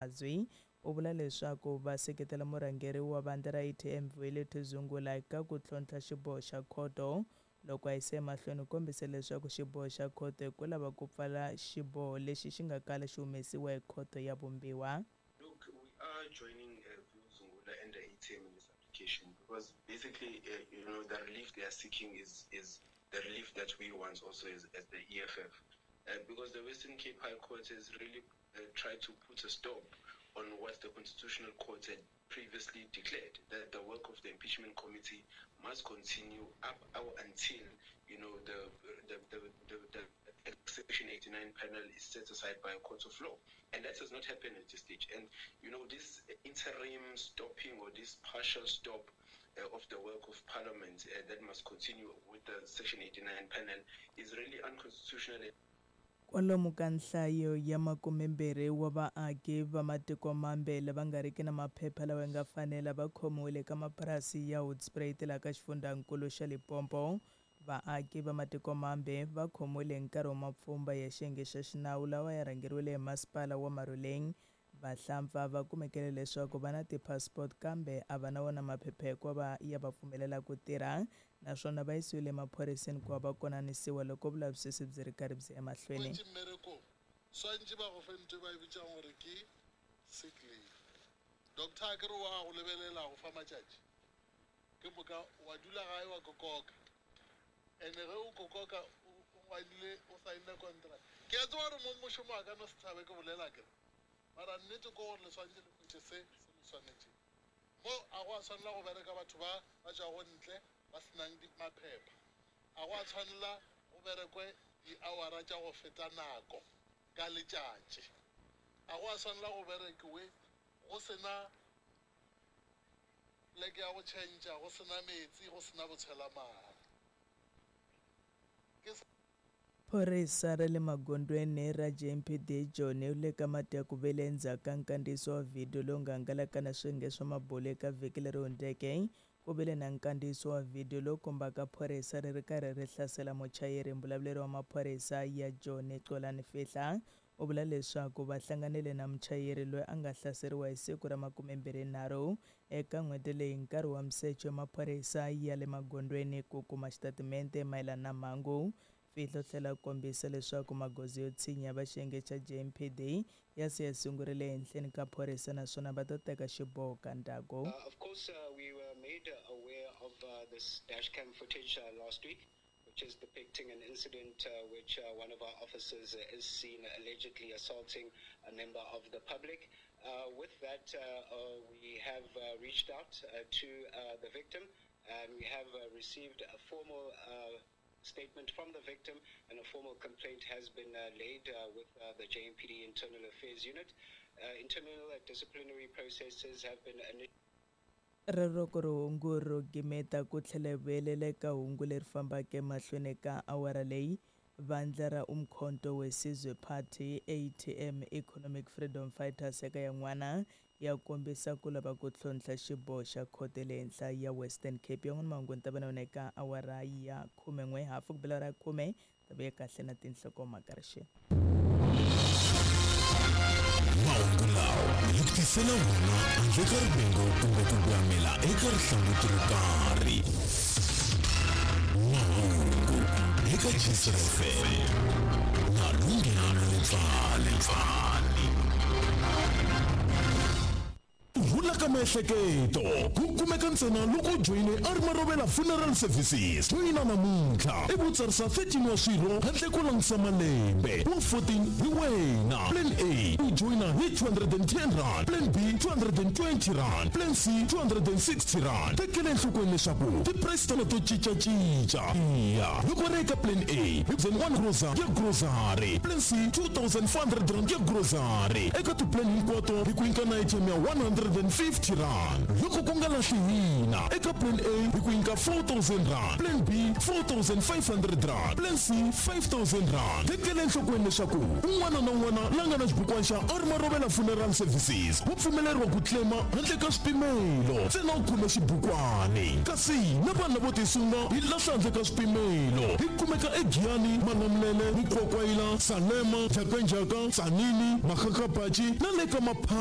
Mazwi u vula leswaku va seketela murhangeri wa vandla ra ATM Vuyelwethu Zungula eka ku tlhontlha xiboho xa khoto. Loko a yisa emahlweni u kombise leswaku xiboho xa khoto i ku lava ku pfala xiboho lexi xi nga kala xi humesiwa hi khoto ya vumbiwa. Look, we are joining Zungula and the ATM in this application because basically, the relief they are seeking is the relief that we want also as the EFF. Because the Western Cape High Court has really tried to put a stop on what the Constitutional Court had previously declared, that the work of the impeachment committee must continue up until, the Section 89 panel is set aside by a court of law. And that has not happened at this stage. And, this interim stopping or this partial stop of the work of Parliament that must continue with the Section 89 panel is really unconstitutional. Kwalomu ka nhlayo ya 20 wa vaaki va matiko mambe lava nga riki na maphepha lawa nga fanela va khomiwile ka mapurasi ya Hoedspruit laha ka xifundzankulu xa Limpopo. Vaaki va matiko mambe va khomiwile hi nkarhi wa mapfhumba ya xiyenge xa xinawu lawa ya rhangeriwile hi masipala wa Maruleng. Vahlampfa va kumekile leswaku va na ti-passport kambe a va na wona maphepha hikuva ya va pfumelela ku tirha, naswona va yisiwile emaphoriseni ku va va konanisiwa loko vulavisisi byi ri karhi byi emahlweni. Swantši ba go fe ntho ba e bitsang gore ke sick leave. Doctor a ke re wa go lebelela go fa matšatši, ke moka wa dula gae wa kokoka, and-e ge o kokoka o ngwadile o saenne contract. Ke a tseba gore mo mošomo wa ka no se tshabe ke bolela kere, mara nnete ke gore le swantše le hwetše se se le swanetšeng. Mo a go a tshwanela go bereka batho ba ba tšwago ntle ba senang maphepha, a go a tshwanela go berekwe di-hour tša go feta nako ka letšatši, a go a tshwanela go berekiwe go sena pleke ya go tšhentšha, go sena metsi, go sena botshelamare. Ke Phorisa ra le magondweni ra JMPD Joni u le ka mati ya ku vele endzhaku ka nkandziyiso wa vhidiyo lowu nga hangalaka na swiyenge swa mabulo eka vhiki leri hundzeke. Ku vile na nkandziyiso wa vhidiyo lowu kombaka phorisa ri ri karhi ri hlasela muchayeri. Mbulavuleri wa maphorisa ya Joni Xolani Fihla u vula leswaku va hlanganile na muchayeri loyi a nga hlaseriwa hi siku ra 23 eka n'hweti leyi nkarhi wa misecho ya maphorisa ya le magondweni ku kuma xitatimende mayelana na mhangu. Fihla u tlhela kombisa leswaku magoza yo tshinya va xiyenge xa JMPD ya se ya sungurile ehenhleni ka phorisa naswona va ta teka xiboho ka ndzhaku. Of course, we were made aware of this dashcam footage last week, which is depicting an incident which one of our officers is seen allegedly assaulting a member of the public. With that, we have reached out to the victim, and we have received a formal statement from the victim, and a formal complaint has been laid with the JMPD Internal Affairs Unit. Internal disciplinary processes have been initiated. Rero ku ri hungu ro gimeta ku tlhela hi vuyelela eka hungu leri fambaka emahlweni ka awara leyi. Vandla ra Umkhonto weSizwe Party ATM Economic Freedom Fighters eka yan'wana ya kombisa ku lava ku tlhontlha xiboho xa khoto le henhla ya Western Cape. Yan'wana mahungu ni ta va na yona eka awara ya 11 hafu ku bela awara ya 10 ta vuya kahle na tinhlokomhaka rixeni. Mahungu lawa hi ku tisela wona handle ka rivengo kumbe ku gwamela eka rihlanguti ro karhi. Mahungu eka Gcina FM na Lunghelo Letsale. Ku rhula ka miehleketo ku kumeka ntsena loko u joyine Armarovela Funeral Services. Joyina namuntlha ivi u tsarisa 13 wa swirho handle ko langutisa malembe. Wa 14 hi wena. Plan A u joyina hi 210 rand, Plan B 220 rand, Plan C 260 rand. Tekela enhlokweni leswaku ti-price tona to cincacinca. Iya, loko ri eka Plan A hi 1 grocery ya grocery, Plan C 2400 rand ya grocery. Eka ti-plan hinkwato hi ku nyika na airtime ya 150 rand. Loko ku nga lahli hina, eka Plan A hi ku nyika 4000 rand, Plan B 4500 rand, Plan C 5000 rand. Tekela enhlokweni leswaku un'wana na un'wana la nga na xibukwana xa Armarovela Funeral Services wa pfumeleriwa ku claima handle ka swipimelo, ntsena u khome xibukwani. Kasi na vanhu lavo tisunga hi lahla handle ka swipimelo. Hi kumeka eGiyani, Malamulele, Mukwakwayila, Salema, Njhakanjhaka, Tzaneen, Makgakgapatši na le ka Maphanga.